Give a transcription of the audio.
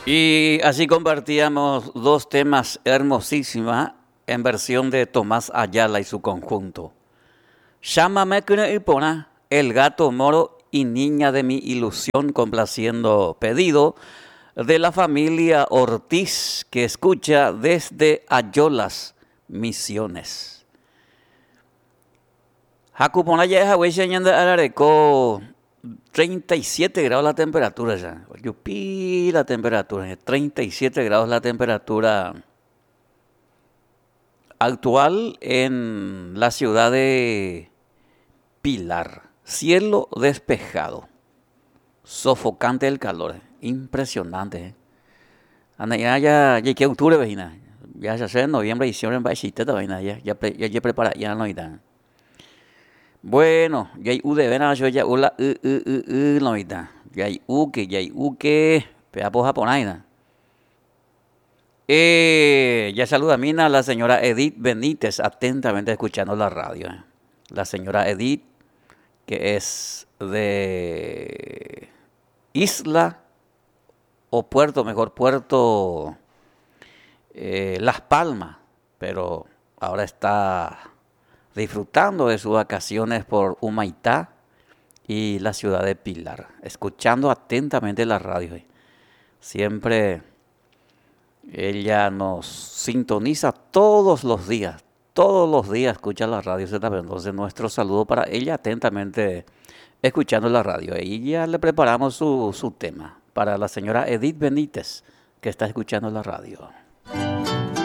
Y así compartíamos dos temas hermosísimas en versión de Tomás Ayala y su conjunto. Llámame Porá, El Gato Moro y Niña de mi Ilusión, complaciendo pedido de la familia Ortiz que escucha desde Ayolas, Misiones. Haku porã ja'e ñande arareko 37 grados la temperatura ya. Ojupi la temperatura, 37 grados la temperatura actual en la ciudad de Pilar. Cielo despejado. Sofocante el calor. Impresionante. ¿Eh? Anda, ya, ya, ya, que octubre, vecina. Ya se hace en noviembre, diciembre, en ya, ya, ya, ya prepara, ya no está. Bueno, ya hay U de vena, yo ya U la U, U, U, U, no está. Ya hay U que, ya hay U que, pea po japonés. Ya saluda a Mina la señora Edith Benítez, atentamente escuchando la radio. La señora Edith, que es de Isla o Puerto, mejor Puerto Las Palmas, pero ahora está disfrutando de sus vacaciones por Humaitá y la ciudad de Pilar, escuchando atentamente la radio. Siempre ella nos sintoniza todos los días escucha la radio ZB. Entonces nuestro saludo para ella atentamente escuchando la radio. Y ya le preparamos su tema para la señora Edith Benítez, que está escuchando la radio.